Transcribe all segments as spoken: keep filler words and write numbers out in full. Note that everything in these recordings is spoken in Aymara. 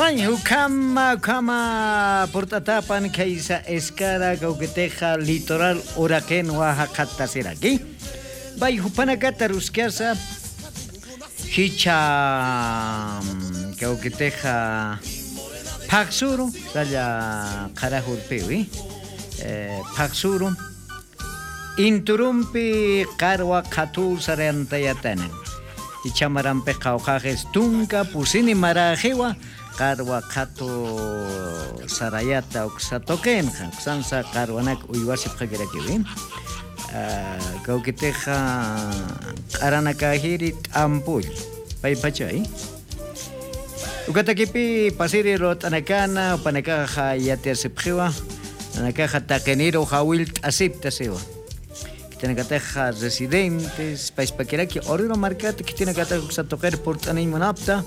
Ukhama ukhama purt'atapan khaysa eskara kawkitixa litoral uraqin waja qhattasiraki. Pay jupanakata ruskasa jicha kawkitixa phaqsuru salla qharajurpiwi. Phaqsuru inturumpi qarwa qhatuw sarantayatanan. Ichhamarampix qhawqhaxis tunka pusini maräxiwa qarwa qhatu sarayata uksa tuqinxa uksansa qarwanak uywasipxakirakiwi. Kawkitixa q'aranakäjiri t'ampull paypachay. Ukatakipï pasiri lurt'anakana jupanakaxa yatiyasipxiwa nanakaxa taqiniru jawillt'asipta siwa. Khitinakataxa residentes payspakiraki oruro markata khitinakataxa uksa tuqir purt'aniñ munapta.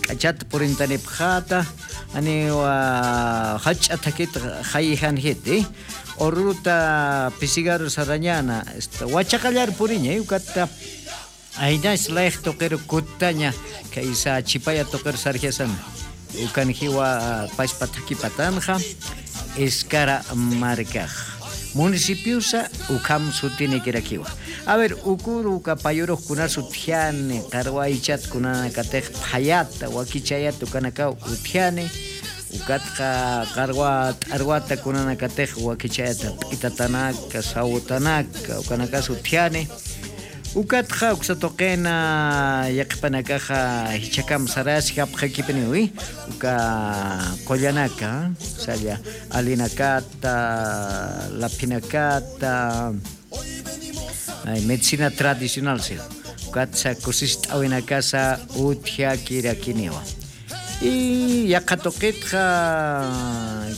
K'achat purintanipxata aniwa jach'a thakit jayijanjiti. Orurota pisigaru sarañana wachaqallar puriñay ukata. Aynas layx tuqiru kuttaña khaysa chhipaya tuqiru sarjasana. Ukan jiwa paspa thakhipatanxa eskara markax municipiosa ukham sutinikirakiwa. A ver ukuru uka payurux kunas utjani qarwa aychat kunanakatix phayata wakichayata ukanakaw utjani. Ukatxa qarwa t'arwata kunanakatix wakichayata p'itatanaka sawtanaka ukanakas utjani. Ukatxa uksa tuqina yaqhipanakaxa jichhakam sarasjapxakipiniwi uka qullanaka salla alinakata laphinakata medicina tradicional si ukatsa kusist'awinakasa utjakirakiniwa. Y yaqha tuqitxa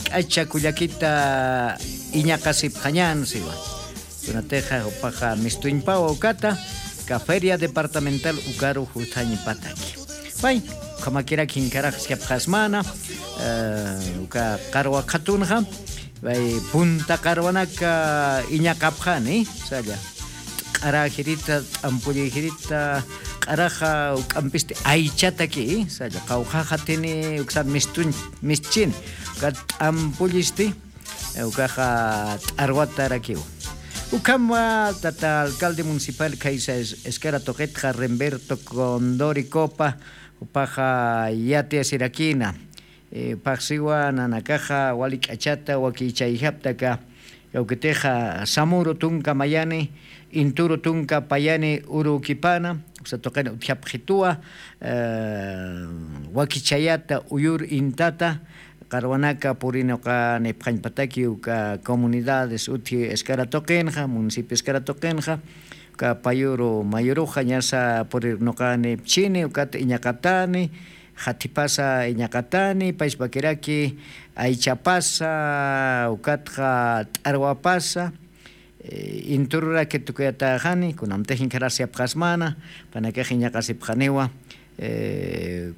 k'acha kullakita iñaqasipxañän siwa. Kunatixa jupaxa mistuñpawa ukata ka feria departamental ukaru juthañpataki. Pay ukhamakirak jinkarax siapxasmana uka qarwa qhatunxa pay punta qarwanaka iñaqapxani salla. Q'aräjirita t'ampullïjirita q'araxa uk'ampisti aychataki salla qawqhaxatini uksa mistuñ mischini uka t'ampullisti ukaxa t'arwatarakiw. Ukhamwa tata alcalde municipal khaysa eskara tuqitxa remberto condori copa jupaxa yatiyasirakina. Phaxsiwa nanakaxa wali k'achata wakichayjaptaka kawkitixa samuru tunka mayani inturu tunka payani urukipana uksa tuqina utjapxituwa. Wakichayata uyur intata qarwanaka purinuqanipxañpataki uka comunidades utji eskara tuqinxa municipio eskara tuqinxa uka payuru mayuruxa ñasa purinuqanipchini ukata iñaqatani. Jathipasa iñaqatani payspakiraki aychapasa ukatxa t'arwapasa intururaki tukuyatäxani kunamtix inkharasiyapxasmana panakax iñaqasipxaniwa.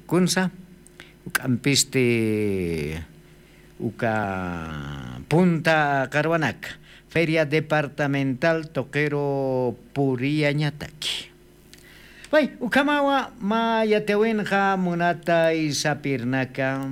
Kunsa uk'ampisti uka punta qarwanaka feria departamental tuqiru puriyañataki. Pay ukhamawa mä yatiwinxa munatay sapirnaka.